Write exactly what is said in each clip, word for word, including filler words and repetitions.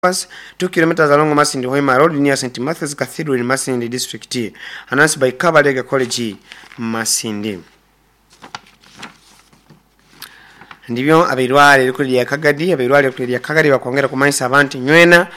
two kilometers along Masindi Hoima Road near St. Matthew's Cathedral in Masindi District. Announced by Kabalega College, Masindi. Ndibyo abairware rikuri lya Kagadi, abairware rikuri lya Kagadi bakwongera kumanyisa abantu nywena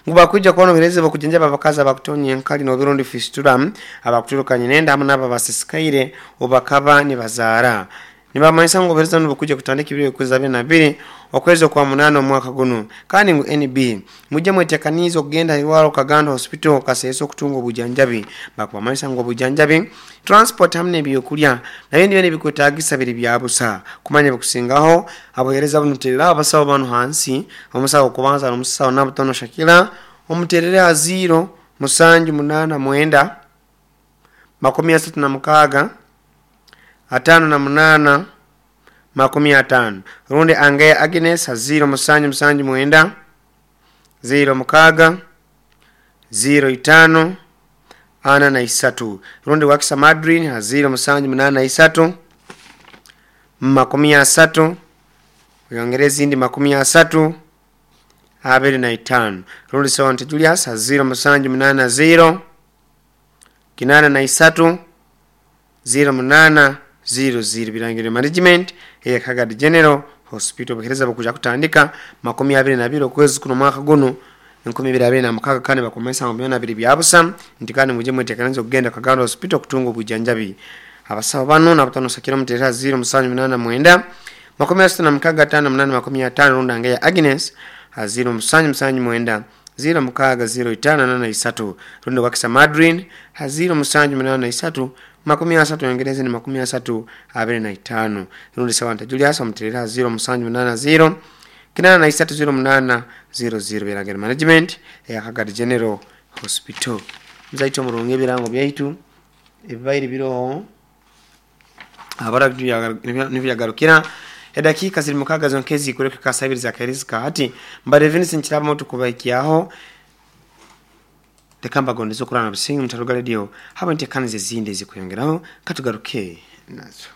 ngu bakwija kubona obuhereza bw'okujanjaba abakazi abakutonya enkali n'oburundi fistula abakuturukanye nenda hamwe n'abo abasisikaire obakaba nibazaara. Nibamanyisa ngu obuhereza buno bukwija kutandika ebiro ebikuza abiri na bibiri okwezi okwa munaana omwaka guno. Kandi ngu N B mujye mwetekaniize okugenda ahairwaro Kagando Hospital Kasese okutunga obujanjabi. Bakubamanyisa ngu obujanjabi, transport hamwe n'ebyokurya nabyo nibyo nibikwetaagisa biri bya busa. Kumanya ebikusingaho abuhereza buno terera abasawo banu hansi, omusawo okubanza n'omusawo Nabutono Shakira, omuterere aha ziro musanju munaana mwenda makumi asatu na mukaaga ataano na munaana makumi ataano, rundi Angeya Agnes ha ziro musanju musanju mwenda ziro mukaaga ziro itaano ana na isatu, rundi Wakisa Madrin ha ziro musanju munaana isatu makumi asatu oyongere ezindi makumi asatu abiri na itaano, rundi Sewante Julius ha ziro musanju munaana ziro kinaana na isatu ziro munaana ziro ziro. Birangiro Management eya Kagadi General Hospital obuhereza bukuja kutandika makumi abiri na bibiri okwezi kuno omwaka guno enkumi ibiri abiri na mukaaga, kandi bakumanyisa ngu byona biri bya busa nti kandi mujye mwetekanize okugenda Kagando Hospital okutunga obujanjabi. Abasawo bano Nabutono Shakira omuterera ziro musanju munaana mwenda makumi asatu na mukaaga ataano munaana makumi ataano, rundi Angeya Agnes ha ziro musanju musanju mwenda ziro mukaaga ziro itaano nana isatu, rundi Wakisa Madrin ha ziro musanju munaana isatu makumi asatu yongereze ni makumi asatu abiri na itaano, rundi Sewanta Julius omuterera ziro musanju munaana ziro kinana na isatu ziro munaana ziro ziro. Birangiro Management eya Kagadi General Hospital. Muzaitu omurungi ebirango byaitu ebibaire biroho abara nibyagarukira edakiika ziri mukaaga zonka ezikureka kasabiri zakairizi hati mbare Vincent Kirabo tukubaikiaho reka mbagondeze okurana businga mutaruga radio haba ntekanize ezindi ezikuyongeraho katugaruke nazo.